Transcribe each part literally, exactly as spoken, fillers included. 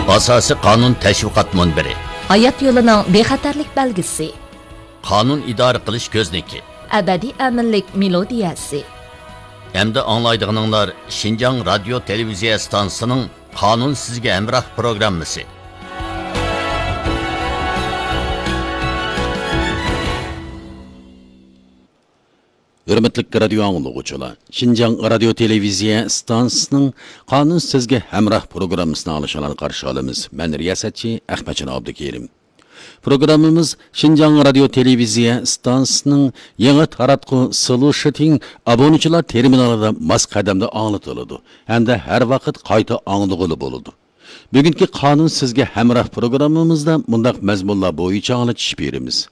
ئاساسىي قانۇن تەشۋىقات مۇنبىرى. ھايات يولىنىڭ بىخەتەرلىك بەلگىسى. قانۇن ئىدارە قىلىش كۆزنىكى. ئەبەدىي ئەمىنلىك مېلودىيەسى. ئەمدى ئاڭلايدىغىنىڭلار شىنجاڭ رادىيو تېلېۋىزىيە ئىستانسىسىنىڭ قانۇن سىزگە ھەمراھ پروگراممىسى. ھۆرمەتلىك رادىيو ئاڭلىغۇچىلار، شىنجاڭ رادىيو تېلېۋىزىيە ئىستانسىسىنىڭ قانۇن سىزگە ھەمراھ پروگراممىسىنى ئاڭلىشىڭلارنى قارشى ئالىمىز. مەن رىياسەتچى ئەخمەتجان ئابدۇكېرىم. پروگراممىمىز شىنجاڭ رادىيو تېلېۋىزىيە ئىستانسىسىنىڭ يېڭى تاراتقۇ سلۇشىتىڭ ئابۇنىچىلار تېرمىنالىدا ماس قەدەمدە ئاڭلىتىلىدۇ ھەمدە ھەر ۋاقىت قايتا ئاڭلىغىلى بولىدۇ. بۈگۈنكى قانۇن سىزگە ھەمراھ پروگراممىمىزدا مۇنداق مەزمۇنلار بويىچە ئاڭلىتىش بېرىمىز.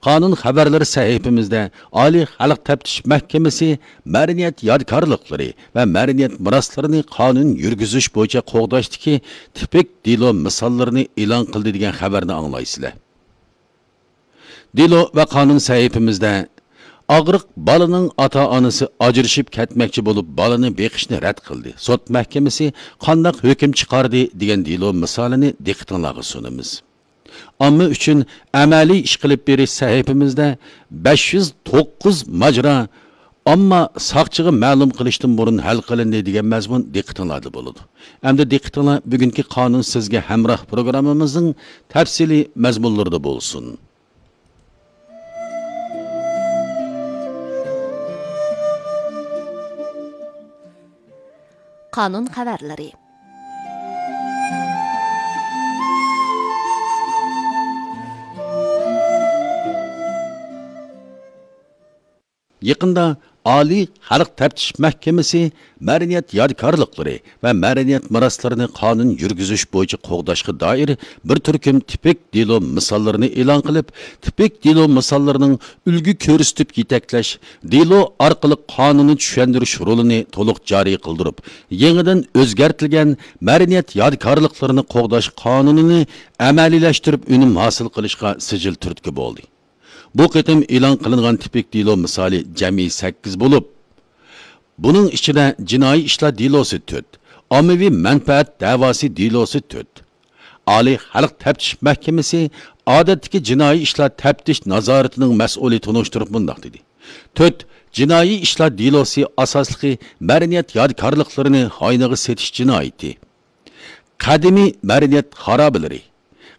قانۇن خەۋەرلىرى سەھىپىمىزدە ئالىي خەلق تەپتىش مەھكىمىسى مەدەنىيەت يادىكارلىقلىرى ۋە مەدەنىيەت مىراسلىرىنى قانۇن يۈرگۈزۈش بويىچە قوغداشتىكى تىپىك دېلو مىساللىرىنى ئېلان قىلدى دېگەن خەۋەرنى ئاڭلايسىلەر. دېلو ۋە قانۇن سەھىپىمىزدە ئاغرىق بالىنىڭ ئاتا-ئانىسى ئاجرىشىپ كەتمەكچى بولۇپ بالىنى بېقىشنى رەت قىلدى. سوت مەھكىمىسى قانداق ھۆكۈم چىقاردى دېگەن دېلو مىسالىنى دىققىتىڭلارغا سۇنىمىز. ئامما ئۈچۈن ئەمەلىي ئىش قىلىپ بېرىش سەھىپىمىزدە بەش يۈز توققۇز ماجىرا ئامما ساقچىغا مەلۇم قىلىشتىن بۇرۇن ھەل قىلىندى دېگەن مەزمۇن دىققىتىڭلاردا بولىدۇ. ئەمدى دىققىتىڭلار بۈگۈنكى قانۇن سىزگە ھەمراھ پروگراممىمىزنىڭ تەپسىلىي مەزمۇنلىرىدا بولسۇن. قانۇن خەۋەرلىرى. يېقىندا ئالىي خەلق تەپتىش مەھكىمىسى مەدەنىيەت يادىكارلىقلىرى ۋە مەدەنىيەت مىراسلىرىنى قانۇن يۈرگۈزۈش بويىچە قوغداشقا دائىر بىر تۈركۈم تىپىك دېلو مىساللىرىنى ئېلان قىلىپ، تىپىك دېلو مىساللىرىنىڭ ئۈلگە كۆرسىتىپ يېتەكلەش، دېلو ئارقىلىق قانۇننى چۈشەندۈرۈش رولىنى تولۇق جارى قىلدۇرۇپ، يېڭىدىن ئۆزگەرتىلگەن مەدەنىيەت يادىكارلىقلىرىنى قوغداش قانۇنىنى ئەمەلىيلەشتۈرۈپ ئۈنۈم ھاسىل قىلىشقا سىجىل تۈرتكە بولدى. بۇ قېتىم ئېلان قىلىنغان تىپىك دېلو مىسالى جەمئىي سەككىز بولۇپ، بۇنىڭ ئىچىدە جىنايى ئىشلار دېلوسى تۆت، ئاممىۋى مەنپەئەت دەۋاسى دېلوسى تۆت. ئالىي خەلق تەپتىش مەھكىمىسى ئادەتتىكى جىنايى ئىشلار تەپتىش نازارىتىنىڭ مەسئۇلى تونۇشتۇرۇپ مۇنداق دېدى: تۆت، جىنايى ئىشلار دېلوسى ئاساسلىقى مەدەنىيەت يادىكارلىقلىرىنى ھاينىغا سېتىش جىنايىتى. قەدىمىي مەدەنىيەت خارابىلىرى،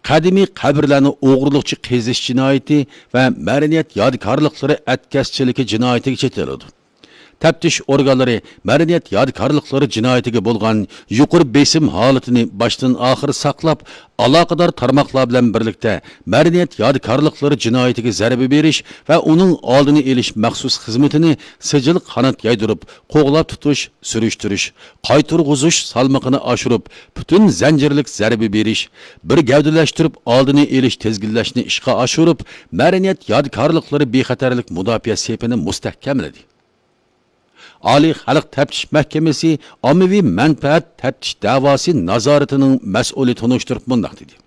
قەدىمىي قەبرىلەرنى ئوغرىلىقچە قېزىش جىنايىتى ۋە مەدەنىيەت يادىكارلىقلىرى ئەتكەسچىلىكى جىنايىتىگە چېتىلىدۇ. تەپتىش ئورگانلىرى مەدەنىيەت يادىكارلىقلىرى جىنايىتىگە بولغان يۇقىرى بېسىم ھالىتىنى باشتىن ئاخىر ساقلاپ، ئالاقىدار تارماقلار بىلەن بىرلىكتە مەدەنىيەت يادىكارلىقلىرى جىنايىتىگە زەربە بېرىش ۋە ئۇنىڭ ئالدىنى ئېلىش مەخسۇس خىزمىتىنى سىجىل قانات يايدۇرۇپ، قوغلاپ تۇتۇش، سۈرۈشتۈرۈش، قايتۇرغۇزۇش سالمىقىنى ئاشۇرۇپ، پۈتۈن زەنجىرلىك زەربە بېرىش، بىر گەۋدىلەشتۈرۈپ ئالدىنى ئېلىش تىزگىنلەشنى ئىشقا ئاشۇرۇپ، مەدەنىيەت يادىكارلىقلىرى بىخەتەرلىك مۇداپىئە سېپىنى مۇستەھكەملىدى. ئالىي خەلق تەپتىش مەھكىمىسى ئاممىۋى مەنپەئەت تەپتىش دەۋاسى نازارىتىنىڭ مەسئۇلى تونۇشتۇرۇپ مۇنداق دېدى: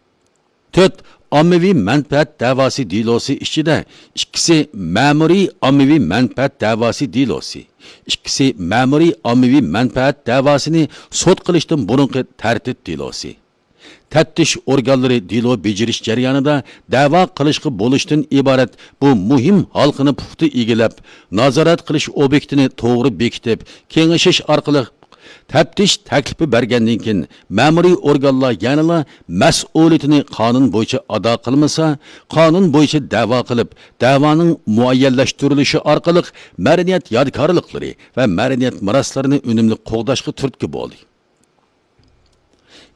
تۆت، ئاممىۋى مەنپەئەت دەۋاسى دېلوسى ئىچىدە ئىككىسى مەمۇرىي ئاممىۋى مەنپەئەت دەۋاسى دېلوسى، ئىككىسى مەمۇرىي ئاممىۋى مەنپەئەت دەۋاسىنى سوت قىلىشتىن بۇرۇنقى تەرتىپ دېلوسى. تەپتىش ئورگانلىرى دېلو بېجىرىش جەريانىدا دەۋا قىلىشقا بولۇشتىن ئىبارەت بۇ مۇھىم ھالقىنى پۇختا ئىگىلەپ، نازارەت قىلىش ئوبيېكتىنى توغرا بېكىتىپ، كېڭىشىش ئارقىلىق تەپتىش تەكلىپى بەرگەندىن كېيىن، مەمۇرىي ئورگانلار يەنىلا مەسئۇلىيىتىنى قانۇن بويىچە ئادا قىلمىسا، قانۇن بويىچە دەۋا قىلىپ، دەۋانىڭ مۇئەييەنلەشتۈرۈلۈشى ئارقىلىق مەدەنىيەت يادىكارلىقلىرى ۋە مەدەنىيەت مىراسلىرىنى ئۈنۈملۈك قوغداشقا تۈرتكە بولدى.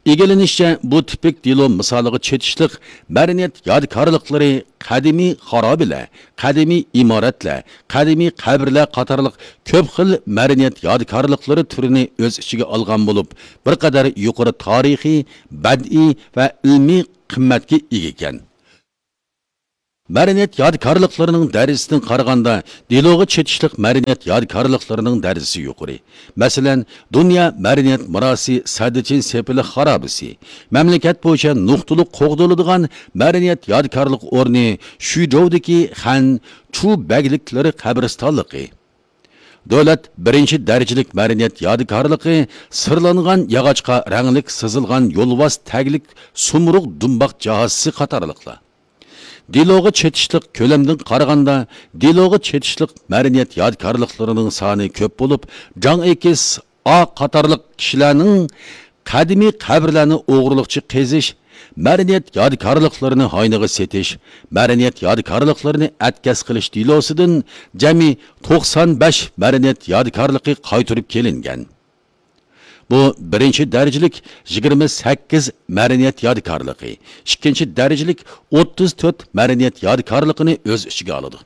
ئىگىلىنىشىچە، بۇ تىپىك دېلو مىسالىغا چېتىشلىق مەدەنىيەت يادىكارلىقلىرى، قەدىمىي خارابىلەر، قەدىمىي ئىمارەتلەر، قەدىمىي قەبرىلەر قاتارلىق كۆپ خىل مەدەنىيەت يادىكارلىقلىرى تۈرىنى ئۆز ئىچىگە ئالغان بولۇپ، بىر قەدەر يۇقىرى تارىخىي، بەدىئىي ۋە ئىلمىي قىممەتكە ئىگە ئىكەن. مەدەنىيەت يادىكارلىقلىرىنىڭ دەرىجىسىدىن قارىغاندا، دېلوغا چېتىشلىق مەدەنىيەت يادىكارلىقلىرىنىڭ دەرىجىسى يۇقىرى. مەسىلەن، دۇنيا مەدەنىيەت مىراسى سەددىچىن سېپىلى خارابىسى، مەملىكەت بويىچە نۇقتىلىق قوغدىلىدىغان مەدەنىيەت يادىكارلىق ئورنى شۈيجوۋدىكى خەن چۇ بەگلىكلىرى قەبرىستانلىقى، دۆلەت بىرىنچى دەرىجىلىك مەدەنىيەت يادىكارلىقى سىرلانغان ياغاچقا رەڭلىك سىزىلغان يولۋاس تەگلىك سۇمرۇغ دۇمباق جاھازىسى قاتارلىقلار. دېلوغا چېتىشلىق كۆلەمدىن قارىغاندا، دېلوغا چېتىشلىق مەدەنىيەت يادىكارلىقلىرىنىڭ سانى كۆپ بولۇپ، جاڭ ئېكىس، ئا قاتارلىق كىشىلەرنىڭ قەدىمىي قەبرىلەرنى ئوغرىلىقچە قېزىش، مەدەنىيەت يادىكارلىقلىرىنى ھاينىغا سېتىش، مەدەنىيەت يادىكارلىقلىرىنى ئەتكەس قىلىش دېلوسىدىن جەمئىي توقسان بەش مەدەنىيەت يادىكارلىقى قايتۇرۇپ كېلىنگەن. بۇ بىرىنچى دەرىجىلىك يىگىرمە سەككىز مەدەنىيەت يادىكارلىقى، ئىككىنچى دەرىجىلىك ئوتتۇز تۆت مەدەنىيەت يادىكارلىقىنى ئۆز ئىچىگە ئالىدۇ.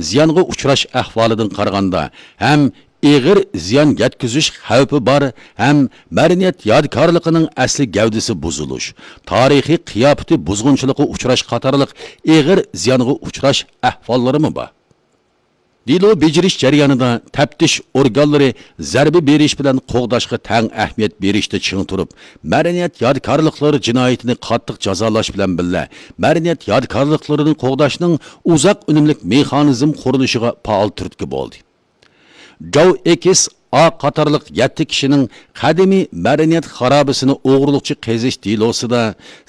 زىيانغا ئۇچراش ئەھۋالىدىن قارىغاندا، ھەم ئېغىر زىيان يەتكۈزۈش خەۋپى بار، ھەم مەدەنىيەت يادىكارلىقىنىڭ ئەسلى گەۋدىسى بۇزۇلۇش، تارىخىي قىياپىتى بۇزغۇنچىلىققا ئۇچراش قاتارلىق ئېغىر زىيانغا ئۇچراش ئەھۋاللىرىمۇ بار. دېلو بېجىرىش جەريانىدا تەپتىش ئورگانلىرى زەربە بېرىش بىلەن قوغداشقا تەڭ ئەھمىيەت بېرىشتە چىڭ تۇرۇپ، مەدەنىيەت يادىكارلىقلىرى جىنايىتىنى قاتتىق جازالاش بىلەن بىللە، مەدەنىيەت يادىكارلىقلىرىنى قوغداشنىڭ ئۇزاق ئۈنۈملۈك مېخانىزم قۇرۇلۇشىغا پائال تۈرتكە بولدى. جاۋ ئېكس ئا قاتارلىق يەتتە كىشىنىڭ قەدىمىي مەدەنىيەت خارابىسىنى ئوغرىلىقچە قېزىش دېلوسىدا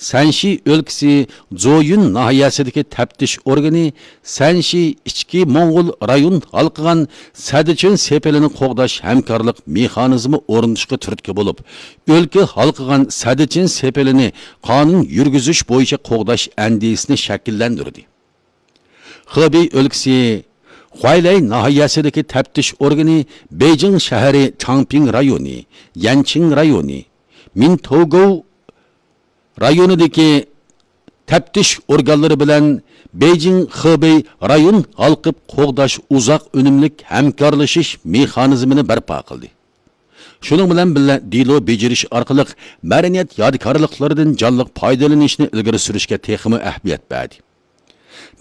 سەنشى ئۆلكىسى زويۈن ناھىيەسىدىكى تەپتىش ئورگىنى سەنشى ئىچكى موڭغۇل رايون ھالقىغان سەددىچىن سېپىلىنى قوغداش ھەمكارلىق مېخانىزمى ئورنىتىشقا تۈرتكە بولۇپ، ئۆلكە ھالقىغان سەددىچىن سېپىلىنى قانۇن يۈرگۈزۈش بويىچە قوغداش ئەندىزىسىنى شەكىللەندۈردى. خېبېي ئۆلكىسى خۇەيلەي ناھىيەسىدىكى تەپتىش ئورگىنى بېيجىڭ شەھىرى چاڭپىڭ رايونى، يەنچىڭ رايونى، مىنتوگوۋ رايونىدىكى تەپتىش ئورگانلىرى بىلەن بېيجىڭ خېبېي رايون ھالقىپ قوغداش ئۇزاق ئۈنۈملۈك ھەمكارلىشىش مېخانىزمىنى بەرپا قىلدى. شۇنىڭ بىلەن بىللە، دېلو بېجىرىش ئارقىلىق مەدەنىيەت يادىكارلىقلىرىدىن جانلىق پايدىلىنىشنى ئىلگىرى سۈرۈشكە تېخىمۇ ئەھمىيەت بەردى.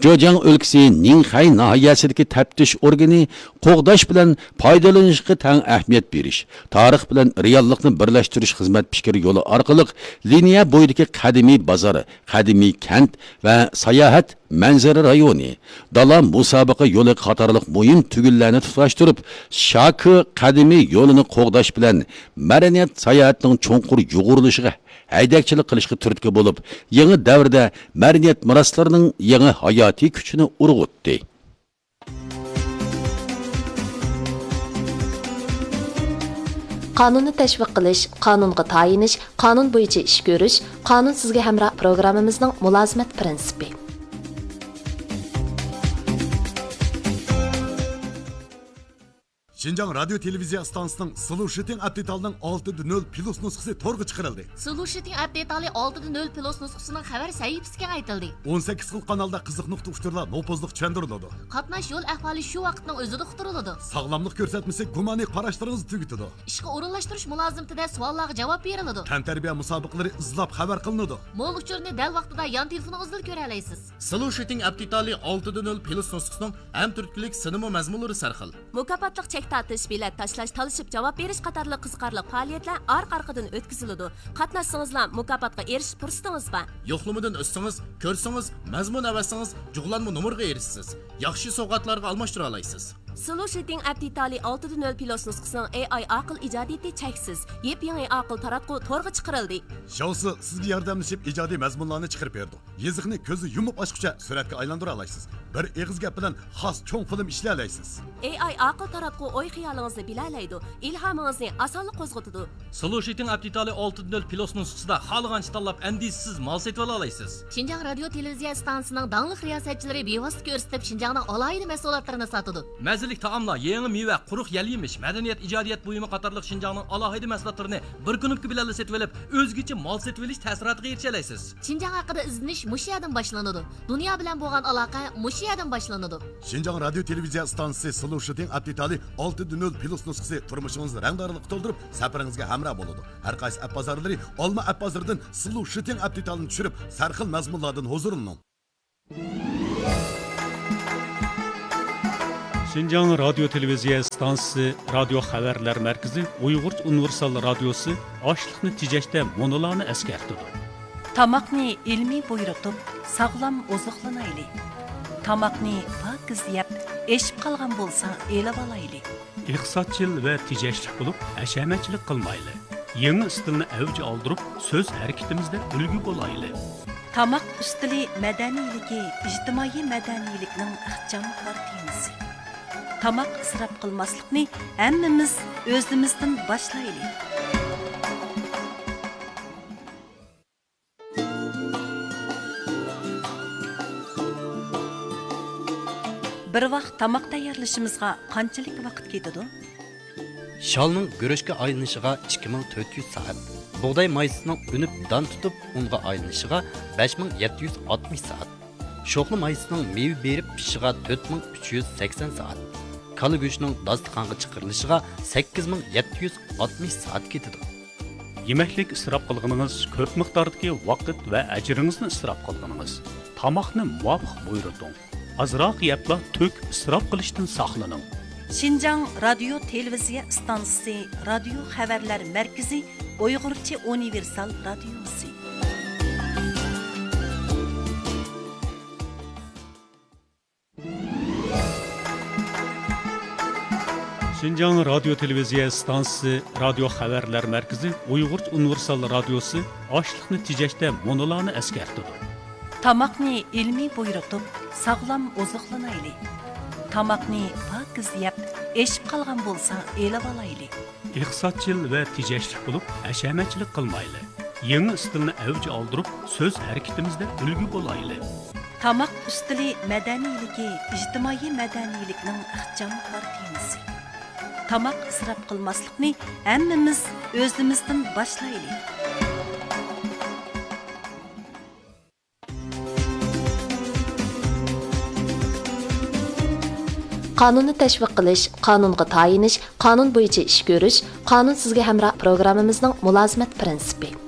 جېجياڭ ئۆلكىسى نىڭخەي ناھىيەسىدىكى تەپتىش ئورگىنى قوغداش بىلەن پايدىلىنىشقا تەڭ ئەھمىيەت بېرىش، تارىخ بىلەن رېئاللىقنى بىرلەشتۈرۈش خىزمەت پىكرى يولى ئارقىلىق لىنىيە بويىدىكى قەدىمىي بازار، قەدىمىي كەنت ۋە ساياھەت مەنزىرە رايونى، دالا مۇسابىقە يولى قاتارلىق مۇھىم تۈگۈنلەرنى تۇتاشتۇرۇپ، شاكى قەدىمىي يولىنى قوغداش بىلەن مەدەنىيەت ساياھەتنىڭ چوڭقۇر يۇغۇرۇلۇشىغا ھەيدەكچىلىك قىلىشقا تۈرتكە بولۇپ، يېڭى دەۋردە مەدەنىيەت مىراسلىرىنىڭ يېڭى ھاياتىي كۈچىنى ئۇرغۇتتى. قانۇننى تەشۋىق قىلىش، قانۇنغا تايىنىش، قانۇن بويىچە ئىش كۆرۈش، قانۇن سىزگە ھەمراھ پروگراممىمىزنىڭ مۇلازىمەت پىرىنسىپى. شىنجاڭ رادىيو تېلېۋىزىيە ئىستانسىسىنىڭ سلۇشىتىڭ ئەپ دېتالىنىڭ ئالتە دە نۆل پلۇس نۇسخىسى تورغا چىقىرىلدى. سلۇشىتىڭ ئەپ دېتالى ئالتە دە نۆل پلۇس نۇسخىسىنىڭ خەۋەر سەھىپىسى كېڭەيتىلدى. ئون سەككىز خىل قانالدا قىزىق نۇقتا ئۇچۇرلار نوپۇزلۇق چۈشەندۈرۈلىدۇ. قاتناش يول ئەھۋالى شۇ ۋاقىتنىڭ ئۆزىدە ئۇقتۇرۇلىدۇ. ساغلاملىق كۆرسەتمىسى گۇمانىي قاراشلىرىڭىزنى تۈگىتىدۇ. ئىشقا ئورۇنلاشتۇرۇش مۇلازىمىتىدە سوئاللارغا جاۋاب بېرىلىدۇ. تەنتەربىيە مۇسابىقىلىرى ئىزلاپ خەۋەر قىلىنىدۇ. مول ئۇچۇرنى دەل ۋاقتىدا يان تېلېفونىڭىزدىلا كۆرەلەيسىز. سلۇشىتىڭ ئەپ دېتالى ئالتە دە نۆل پلۇس نۇسخىسىنىڭ ھەم تۈرتكىلىك سىنىمۇ مەزمۇنلىرى سەرخىل. مۇكاپاتلىق چەك تارتىش، بېلەت تاشلاش، تالىشىپ جاۋاب بېرىش قاتارلىق قىزىقارلىق پائالىيەتلەر ئارقا-ئارقىدىن ئۆتكۈزۈلىدۇ. قاتناشسىڭىزلا مۇكاپاتقا ئېرىشىش پۇرسىتىڭىز بار. يوقلىمىدىن ئۈزسىڭىز، كۆرسىڭىز، مەزمۇن ئەۋەتسىڭىز، جۇغلانما نومۇرغا ئېرىشىسىز. ياخشى سوۋغاتلارغا ئالماشتۇرالايسىز. سلۇشىتىڭ ئەپ دېتالى ئالتە دە نۆل پلۇس نۇسخىسىنىڭ ئېي ئاي ئاقىل ئىجادىيىتى چەكسىز. يېپيېڭى ئاقىل تاراتقۇ تورغا چىقىرىلدى. شياۋسى سىزگە ياردەملىشىپ ئىجادىي مەزمۇنلارنى چىقىرىپ بېرىدۇ. يېزىقنى كۆزنى يۇمۇپ ئاچقۇچە سۈرەتكە ئايلاندۇرالايسىز. بىر ئېغىز گەپ بىلەن خاس چوڭ فىلىم ئىشلىيەلەيسىز. ئېي ئاي ئاقىل تاراتقۇ ئوي خىيالىڭىزنى بىلەلەيدۇ، ئىلھامىڭىزنى ئاسانلا قوزغىتىدۇ. سلۇشىتىڭ ئەپ دېتالى ئالتە دە نۆل پلۇس نۇسخىسىدا خالىغانچە تاللاپ ئەندىزىسىز مال سېتىۋالالايسىز. شىنجاڭ رادىيو تېلېۋىزىيە ئىستانسىسىنىڭ داڭلىق رىياسەتچىلىرى بىۋاسىتە كۆرسىتىپ شىنجاڭنىڭ ئالاھىدە مەھسۇلاتلىرىنى ساتىدۇ. مەززىلىك تائاملار، يېڭى مېۋە، قۇرۇق يەل يېمىش، مەدەنىيەت، ئىجادىيەت بۇيۇمى قاتارلىق شىنجاڭنىڭ ئالاھىدە مەھسۇلاتلىرىنى بىر كۇنۇپكا بىلەنلا سېتىۋېلىپ، ئۆزگىچە مال سېتىۋېلىش تەسىراتىغا ئېرىشەلەيسىز. شىنجاڭ ھەققىدە ئىزدىنىش مۇشۇ يەردىن باشلىنىدۇ. دۇنيا بىلەن بولغان ئالاقە مۇشۇ يەردىن باشلىنىدۇ. شىنجاڭ رادىيو تېلېۋىزىيە ئىستانسىسى سلۇشىتىڭ ئەپ دېتالى ئالتە دە نۆل پلۇس نۇسخىسى تۇرمۇشىڭىزنى رەڭدارلىققا تولدۇرۇپ، سەپىرىڭىزگە ھەمراھ بولىدۇ. ھەر قايسى ئەپ بازارلىرى، ئالما ئەپ بازىرىدىن سلۇشىتىڭ ئەپ دېتالىنى چۈشۈرۈپ، سەرخىل مەزمۇنلاردىن ھۇزۇرلىنىڭ. شىنجاڭ رادىيو تېلېۋىزىيە ئىستانسىسى رادىيو خەۋەرلەر مەركىزى ئۇيغۇرچە ئۇنىۋېرسال رادىيوسى ئاشلىقنى تېجەشتە مۇنۇلارنى ئەسكەرتىدۇ. تاماقنى ئىلمىي بۇيرۇتۇپ، ساغلام ئوزۇقلىنايلى. تاماقنى پاكىز يەپ، ئېشىپ قالغان بولسا ئېلىۋالايلى. ئىقتىسادچىل ۋە تېجەشلىك بولۇپ، ھەشەمەتچىلىك قىلمايلى. يېڭى ئىستىلنى ئەۋج ئالدۇرۇپ، سۆز ھەرىكىتىمىزدە ئۈلگە بولايلى. تاماق ئۈستىلى مەدەنىيلىكى ئىجتىمائىي مەدەنىيلىكنىڭ ئىخچام كارتىنىسى. تاماق ئىسراپ قىلماسلىقنى ھەممىمىز ئۆزىمىزدىن باشلايلى. بىر ۋاق تاماق تەييارلىشىمىزغا قانچىلىك ۋاقىت كېتىدۇ؟ شالنىڭ گۈرۈچكە ئايلىنىشىغا ئىككى مىڭ تۆت يۈز سائەت، بۇغداي مايسىسىنىڭ ئۈنۈپ دان تۇتۇپ ئۇنغا ئايلىنىشىغا بەش مىڭ يەتتە يۈز ئاتمىش سائەت، شوخلا مايسىسىنىڭ مېۋە بېرىپ پىشىشىغا تۆت مىڭ ئۈچ يۈز سەكسەن سائەت، كالا گۆشىنىڭ داستىخانغا چىقىرىلىشىغا سەككىز مىڭ يەتتە يۈز ئاتمىش سائەت كېتىدۇ. يېمەكلىك ئىسراپ قىلغىنىڭىز كۆپ مىقداردىكى ۋاقىت ۋە ئەجرىڭىزنى ئىسراپ قىلغىنىڭىز. تاماقنى مۇۋاپىق بۇيرۇتۇڭ. ئازراق يەپلا تۆك، ئىسراپ قىلىشتىن ساقلىنىڭ. شىنجاڭ رادىيو تېلېۋىزىيە ئىستانسىسى رادىيو خەۋەرلەر مەركىزى ئۇيغۇرچە ئۇنىۋېرسال رادىيوسى. شىنجاڭ رادىيو تېلېۋىزىيە ئىستانسىسى رادىيو خەۋەرلەر مەركىزى ئۇيغۇرچە ئۇنىۋېرسال رادىيوسى ئاشلىقنى تېجەشتە مۇنۇلارنى ئەسكەرتىدۇ. تاماقنى ئىلمىي بۇيرۇتۇپ، ساغلام ئوزۇقلىنايلى. تاماقنى پاكىز يەپ، ئېشىپ قالغان بولسا ئېلىۋالايلى. ئىقتىسادچىل ۋە تېجەشلىك بولۇپ، ھەشەمەتچىلىك قىلمايلى. يېڭى ئىستىلنى ئەۋج ئالدۇرۇپ، سۆز ھەرىكىتىمىزدە ئۈلگە بولايلى. تاماق ئۈستىلى مەدەنىيلىكى ئىجتىمائىي مەدەنىيلىكنىڭ ئىخچام كارتىنىسى. تاماق ئىسراپ قىلماسلىقنى ھەممىمىز ئۆزىمىزدىن باشلايلى. قانۇننى تەشۋىق قىلىش، قانۇنغا تايىنىش، قانۇن بويىچە ئىش كۆرۈش، قانۇن سىزگە ھەمراھ پروگراممىمىزنىڭ مۇلازىمەت پىرىنسىپى.